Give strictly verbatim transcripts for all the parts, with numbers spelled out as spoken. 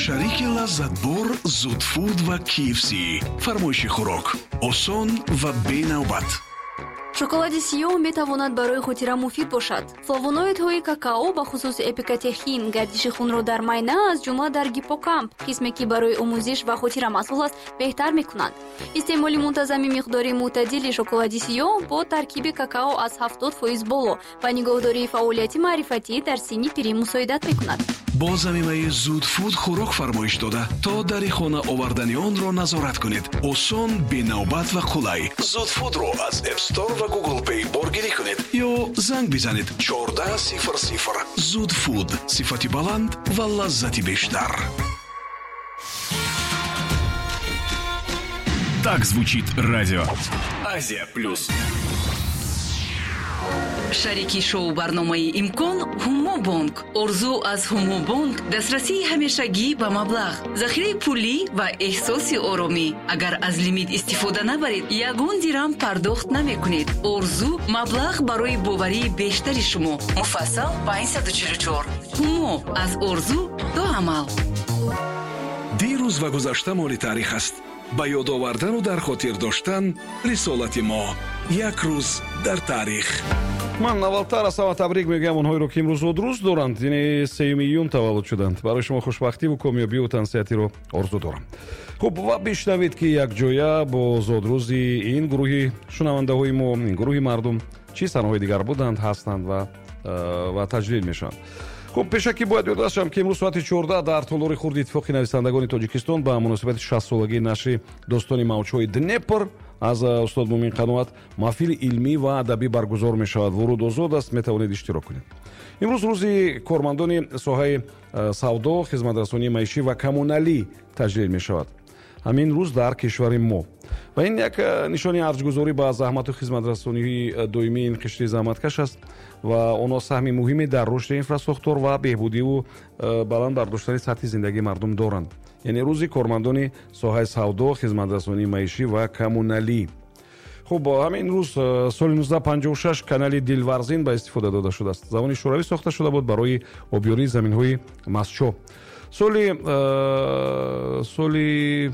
Шарики лаззатбор Зудфуд ва K F C. Фармоиши хӯрок осон ва бенавбат. Шоколади сиёҳ метавонад барои хотира муфид бошад. Флавоноидҳои какао, бахусус эпикатехин, гардиши хунро дар майна, аз ҷумла дар гиппокамп, қисме ки барои омӯзиш ва хотира масъул аст, беҳтар мекунанд. Истеъмоли мунтазами миқдори мӯътадили шоколади сиёҳ бо таркиби какао аз ҳафтод фоиз боло ба нигоҳдории фаъолияти маърифатӣ дар синни пирӣ мусоидат мекунад. Бо замимаи Зудфуд хӯрок фармоиш дода, то дари хона овардани онро назорат кунед. Осон, бенавбат ва қулай. Зудфудро аз App Store ва Google Play боргирӣ кунед ё занг бизанед чордаҳ сифр сифр. Зудфуд: сифати баланд ва лаззати бештар. Так звучит радио Азия Плюс. Шарики шоу барномаи «Имкон» Ҳумобонк. Орзу аз Ҳумобонк: дастрасии ҳамешагӣ ба маблағ, захираи пулӣ ва эҳсоси оромӣ. Агар аз лимит истифода набаред, ягон дирам пардохт намекунед. Орзу: маблағ барои боварии бештари шумо. Муфассал панҷсаду чилу чор. Ҳумо: аз орзу то амал. Дирӯз ва гузашта моли таърих аст. Ба ёд овардану дар хотир доштан рисолати мо. Як рӯз дар таърих. Ман аввалтар аз ҳама табрик мегӯям онҳоеро, ки имрӯз зодрӯз доранд, яъне сеюми июн таваллуд шуданд. Барои шумо хушбахтиву комёбиву тансиҳатиро орзу дорам. Хуб, ва бишнавед, ки якҷоя бо зодрӯзи ин гурӯҳи шунавандаҳои мо, ин гурӯҳи мардум, чӣ санаҳои дигар буданд, ҳастанд ва ва таҷлил мешаванд. Хуб, пешакӣ бояд ёдрас шавам, ки имрӯз соати чордаҳ дар толори хурди Иттифоқи нависандагони Тоҷикистон ба муносибати шастсолагии нашри достони «Мавҷҳои Днепр» аз устод Мумин Қаноат маҳфили илмӣ ва адабӣ баргузор мешавад. Вуруд озод аст, метавонед иштирок кунед. Имрӯз рӯзи кормандони соҳаи савдо, хизматрасонии маишӣ ва коммуналӣ таҷлил мешавад ҳамин рӯз дар кишвари мо. Ва ин як нишони арҷгузорӣ ба заҳмату хизматрасонии доимии ин қишри заҳматкаш аст ва онҳо саҳми муҳиме дар рушди инфрасохтор ва беҳбудиву баланд бардоштани сатҳи зиндагии мардум доранд. Яъне рӯзи кормандони соҳаи савдо, хизматрасонии маишӣ ва коммуналӣ. Хуб, ҳамин рӯз соли нуздаҳ панҷоҳу шаш канали Дилварзин ба истифода дода шудааст. Замони Шӯравӣ сохта шуда буд барои обёрии заминҳои Мастчоҳ. соли соли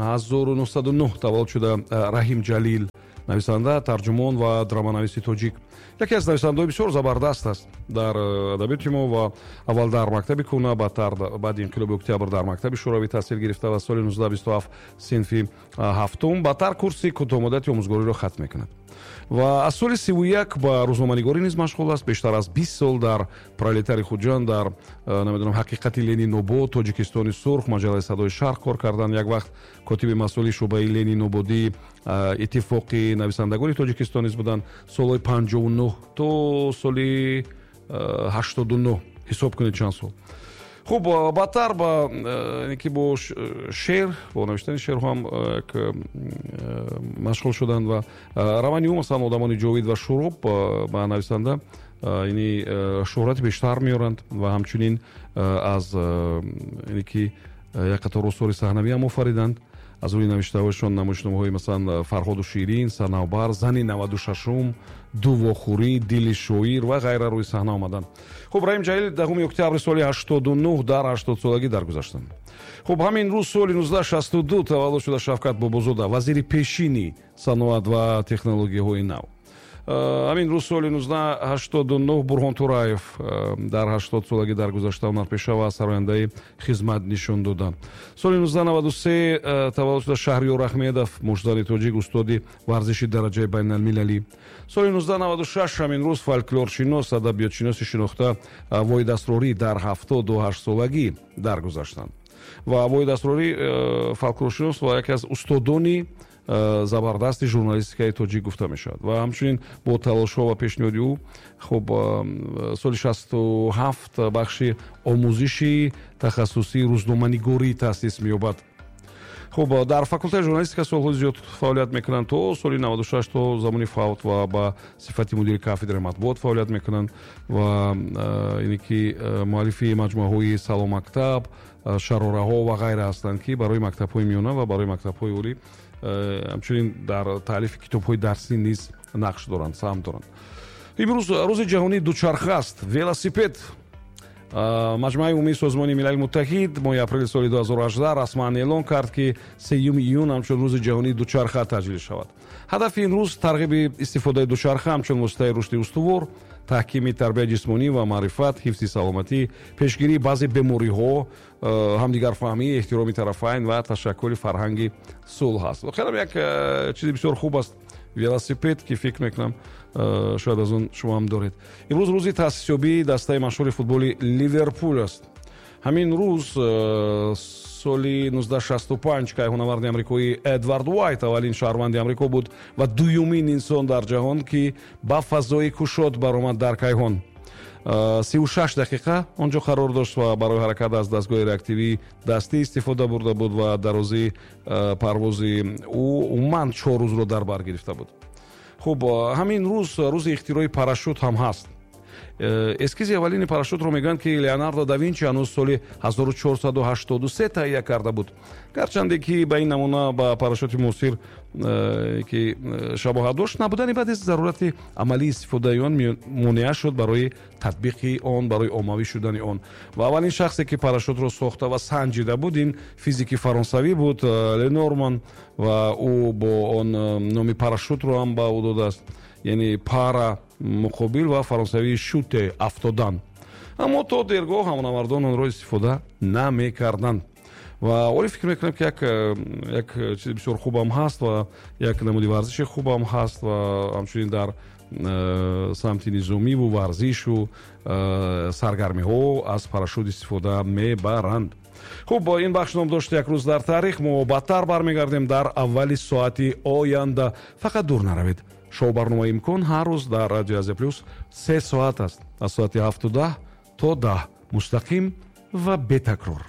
ҳазору нуҳсаду нӯҳ таваллуд шуда Раҳим Ҷалил, нависанда, тарҷумон ва драманависи тоҷик. Яке аз нависандаҳои бисёр забардаст аст дар адабиёти мо ва аввал дар мактаби кӯна, баъдтар, баъди инқилоби Октябр, дар мактаби шӯравӣ таҳсил гирифта ва соли нуздаҳ бисту ҳафт синфи ҳафтум, баъдтар курси кӯтоҳмуддати омӯзгориро хатм мекунад ва аз соли сиву як ба рӯзноманигорӣ низ машғул аст. Бештар аз бист сол дар «Пролетари Хуҷанд», дар, намедонам, «Ҳақиқати Ленинобод», «Тоҷикистони сурх», маҷаллаи «Садои Шарқ» кор карданд. Як вақт котиби масъули шӯъбаи Ленинободии Иттифоқи нависандагони Тоҷикистон низ буданд, солҳои панҷоҳу нӯҳ то соли ҳаштоду нӯҳ, ҳисоб кунед чанд сол. Хуб, баъдтар ба ки бо шеър, бо навиштани шеърҳо ҳам як машғул шуданд ва романи ӯ, масалан, «Одамони ҷовид» ва «Шуроб» ба нависанда ини шӯҳрати бештар меоранд ва ҳамчунин аз ине ки як қатор осори саҳнавӣ ҳам офариданд. Аз рӯи навиштаҳояшон намоишномаҳои, масалан, «Фарҳоду Ширин», «Санавбар», «Зани наваду шашум», «Дувохӯрӣ», «Дили шоир» ва ғайра рӯи саҳна омаданд. Хуб, Раҳим Ҷалил даҳуми октябри соли ҳаштоду нӯҳ дар ҳаштодсолагӣ даргузаштанд. Хуб, ҳамин рӯз соли нуздаҳ шасту ду таваллуд шуда Шавкат Бобозода, вазири пешини саноат ва технологияҳои нав. Ҳамин рӯз соли нуздаҳ ҳаштоду нӯҳ Бурҳон Тураев дар ҳаштод солагӣ даргузашта, ҳунарпеша ва сарояндаи хизмат нишон дода. Соли нуздаҳ наваду се таваллуд шуда Шаҳриёр Аҳмедов, муштзани тоҷик, устоди варзиши дараҷаи байналмилалӣ. Соли нуздаҳ наваду шаш ҳамин рӯз фольклоршинос, адабиётшиноси шинохта Воҳид Асрорӣ дар ҳафтоду ҳашт солагӣ даргузаштанд. Ва Воҳид Асрорӣ фольклоршинос ва яке аз устодони Э, забардасти журналистикаи тоҷик гуфта мешавад ва ҳамчунин бо талошҳо ва пешниҳоди ӯ, хуб, э, соли шасту ҳафт бахши омӯзиши тахассусии рӯзноманигорӣ таъсис меёбад. Хуб, дар факултаи журналистика солҳои зиёд фаъолият мекунанд то соли наваду шаш, то замони фавт, ва ба сифати мудири кафедраи матбуот фаъолият мекунанд ва э, ине ки муаллифи маҷмӯаҳои «Салом мактаб», «Шарораҳо» ва ғайра ҳастанд, ки барои мактабҳои миёна ва барои мактабҳои олӣ, ҳамчунин дар таълифи китобҳои дарсӣ низ нақш доранд, саҳм доранд. Имрӯз рӯзи ҷаҳонии дучарха аст, велосипед. Маҷмӯаи умумии Созмони Милали Муттаҳид моҳи апрели соли ду ҳазору ҳаждаҳ расман эълон кард, ки сеюми июн ҳамчун рӯзи ҷаҳонии дучарха таҷлил шавад. Ҳадафи ин рӯз тарғиби истифодаи дучарха ҳамчун воситаи рушди устувор, таҳкими тарбияи ҷисмонӣ ва маърифат, ҳифзи саломатӣ, пешгирии баъзе бемориҳо, ҳамдигарфаҳмӣ, эҳтироми тарафайн ва ташаккули фарҳанги сулҳ аст. Воқеан як чизи бисёр хуб аст велосипед, ки фикр мекунам шояд аз он шумо ҳам доред. Имрӯз рӯзи таъсисёбии дастаи машҳури футболи Ливерпул аст. Ҳамин рӯз соли нуздаҳ шасту панҷ кайҳонаварди амрикоӣ Эдвард Уайт аввалин шаҳрванди Амрико буд ва дуюмин инсон дар ҷаҳон, ки ба фазои кушод баромад дар кайҳон. Сию шаш дақиқа он ҷо қарор дошт ва барои ҳаракат аз дастгоҳи реактивии дастӣ истифода бурда буд ва дарозии парвози ӯ умуман чор рӯзро дар бар гирифта буд. Хуб, ҳамин рӯз рӯзи ихтирои парашют ҳам ҳаст. Эскизи аввалини парашютро мегӯянд, ки Леонардо да Винчи ҳанӯз соли ҳазору чорсаду ҳаштоду се таҳия карда буд. Гарчанде ки ба ин намуна ба парашюти муосир, ки шабоҳат дошт, набудани баъди зарурати амалии истифодаи он монеа шуд барои татбиқи он, барои оммавӣ шудани он. Ва аввалин шахсе, ки парашютро сохта ва санҷида буд, ин физики фаронсавӣ буд, Ленорман, ва ӯ бо он номи парашютро ҳам ба ӯ додааст, яъне пара муқобил ва фаронсавии шуте афтодан. Аммо то дергоҳ ҳамонавардон онро истифода намекарданд. Ва оле фикр мекунам, ки як як чизи бисёр хубам ҳаст ва як намуди варзиши хубам ҳаст ва ҳамчунин дар самти низомиву варзишу саргармиҳо аз парашют истифода мебаранд. Хуб, ин бахш ном дошт як рӯз дар таърих. Мо баъдтар бармегардем дар аввали соати оянда. Фақат дур наравед. Шоу барномаи Имкон ҳар рӯз дар Радио Азия Плюс се соат аст, аз соати ҳафту даҳ то даҳ, мустақим ва бетакрор.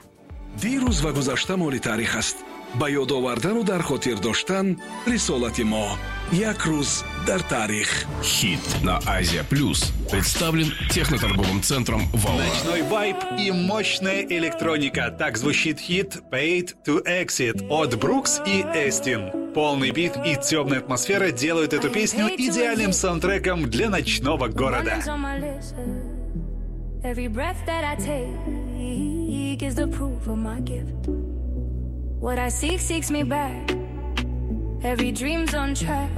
Дирӯз ва гузашта моли таърих аст. Ба ёд овардану дар хотир доштан рисолати мо. Як рӯз дар таърих. Хит на Азия Плюс представлен техноторговым центром «Волна». Ночной вайб и мощная электроника. Так звучит хит «Paid to Exit» от Брукс и Эстин. Полный бит и темная атмосфера делают эту песню идеальным саундтреком для ночного города. What I seek seeks me back. Every dream's on track.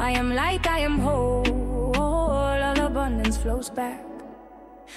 I am light, I am whole. All abundance flows back.